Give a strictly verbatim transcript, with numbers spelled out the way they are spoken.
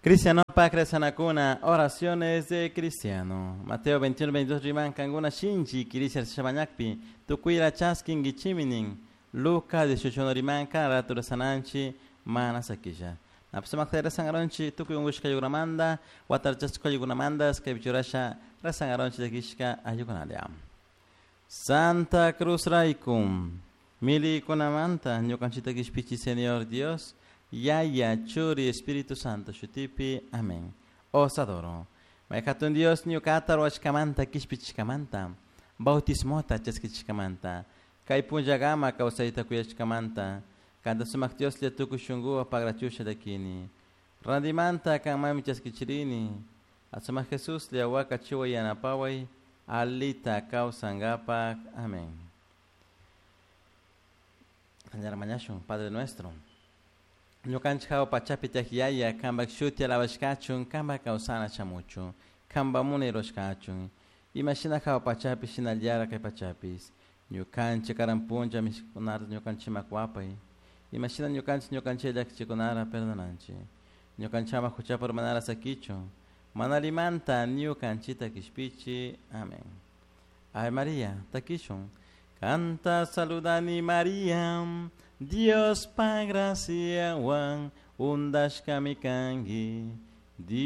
Cristiano Sanakuna, oraciones de cristiano. Mateo veintiuno, veintidós riman kankuna shinchi kirisha shamañakpi, tukuyra chaskin gichiminin. Lucas dieciocho riman kan ratura sananchi mana sakisha. Napsumak resangaronchi tukuy ungushka ayukunamanta, watarchashka ayukunamanta, skaypichurasha resangaronchi llakishka ayukunalia. Santa Cruz raykum, milikunamanta ñukanchita kishpichi Señor Dios, Yaya, Churi, Espíritu Santo, shutipi, amén. Os adoro. Mayhatun Dios ñukata ruwashkamanta kishpichishkamanta, bautismota chaskichishkamanta, kay punllakama kawsayta kuyashkamanta, kanta sumak Dioslla tukuy shunkuwan pagrachusha llakini. Randimanta kanmanmi chaskichirini, asumak Jesuslla wakachiway yanapaway, alita kawsankapak. Amén. Mañashun, Padre nuestro. Ñukanchik hawa pachapi tiyak yaya, kanpak shuti alabashkachun, kanpak kawsana shamuchun, kanpak munay rurashkachun. Imashina hawa pachapi shinallara kay pachapis. Ñukanchik karan punlla mishkikunata ñukanchikman kuwapay. Imashina ñukanchik ñukanchik llakichikunara perdonanchik. Ñukanchik ama huchapi urmanara sakichun. Mana allimanta ñukanchikta kishpichi. Amén. Ave María, takishun. Kanta saludani María, Diospa graciawan undashkami kanki.